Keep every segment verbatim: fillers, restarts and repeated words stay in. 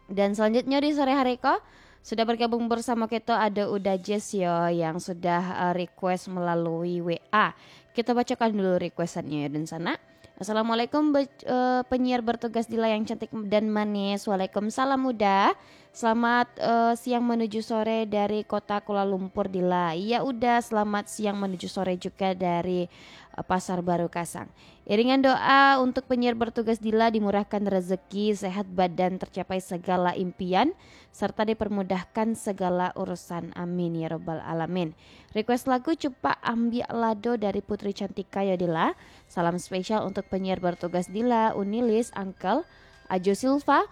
Dan selanjutnyo di sore hari ko, sudah bergabung bersamo kito ado Uda Jess yo, yang sudah, eh, request melalui W A. Kito bacokan dulu requestannyo yo, dunsanak. "Assalamualaikum, be-, eh, penyiar bertugas Dila yang cantik dan manis." Waalaikumsalam, Uda. "Selamat, eh, siang menuju sore dari kota Kuala Lumpur, Dila." Iya, Uda, selamat siang menuju sore juga dari, eh, Pasar Baru Kasang. "Iringan doa untuk penyiar bertugas Dila, dimurahkan rezeki, sehat badan, tercapai segala impian, serta dipermudahkan segala urusan. Amin ya rabbal alamin." Request lagu Cupak Ambiak Lado dari Putri Cantika yo, Dila. Salam spesial untuk penyiar bertugas Dila, Unilis, Uncle, Ajo Silva,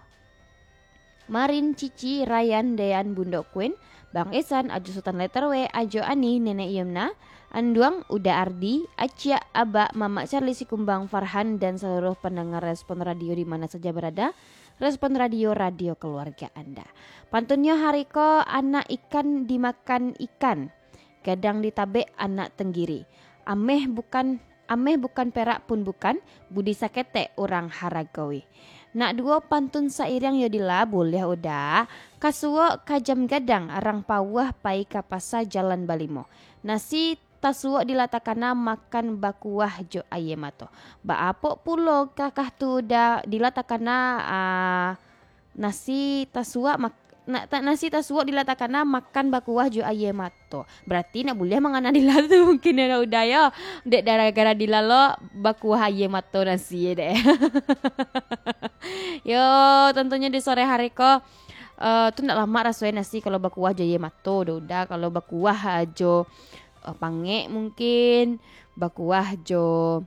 Marin, Cici, Ryan, Dean, Bundo Queen, Bang Esan, Ajo Sultan Letter W, Ajo Ani, Nenek Yumna, Anduang, Uda Ardi, Aciak, Abak, Mamak Charlie Sikumbang, Farhan, dan seluruh pendengar Respon Radio di mana saja berada. Respon Radio, radio keluarga Anda. Pantunnyo hari ko, anak ikan dimakan ikan, gadang ditabek anak tenggiri. Ameh bukan, ameh bukan, perak pun bukan, budi saketek urang haragoi. Nak duo pantun sairiang yo, Dila, buliah, Uda? Ka suok ka jam gadang, rang pauah pai ka pasa jalan balimo. Nasi tasuok Dila takana, makan bakuah jo aia mato. Baa pulo kah tu, Uda, Dila takana, ah, nasi tasuok mak-, na-, ta-, nasi tasuok Dila takana, makan bakuah jo aia mato. Berarti nak buliah mangana Dila tu mungkin yo, Uda yo. Dek gara-gara Dila lo bakuah aia mato nasi dek. Yo, tentunyo di sore hari ko, eh, tu ndak lamak raso e nasi kalau bakuah jo aia mato doh, Uda. Kalau bakuah jo, eh, pangek mungkin, bakuah jo,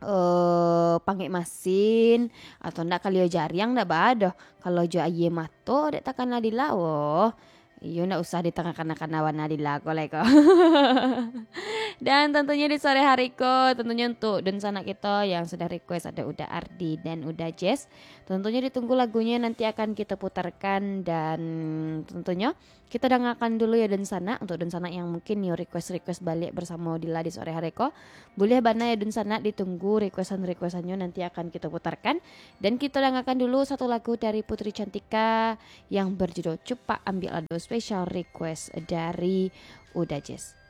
eh, pangek masin, atau ndak kalio jariang ndak baa doh. Kalau jo aia mato dek takana Dila, woh. Iyo, ndak usah ditangah kana-kana bana Dila ko lai ko. Dan tentunyo di sore hari ko, tentunyo untuk dunsanak kito yang sudah request, ado Uda Ardi dan Uda Jess. Tentunyo ditunggu lagunyo, nanti akan kito putarkan, dan tentunyo kito dangakan dulu yo, dunsanak. Untuk dunsanak yang mungkin yo request-request baliak bersamo Dila di sore hari ko, buliah bana yo, dunsanak, ditunggu requestan-requestannyo, nanti akan kito putarkan. Dan kito dangakan dulu satu lagu dari Putri Cantika yang berjudul Cupak Ambiak Lado, special request dari Uda Jess.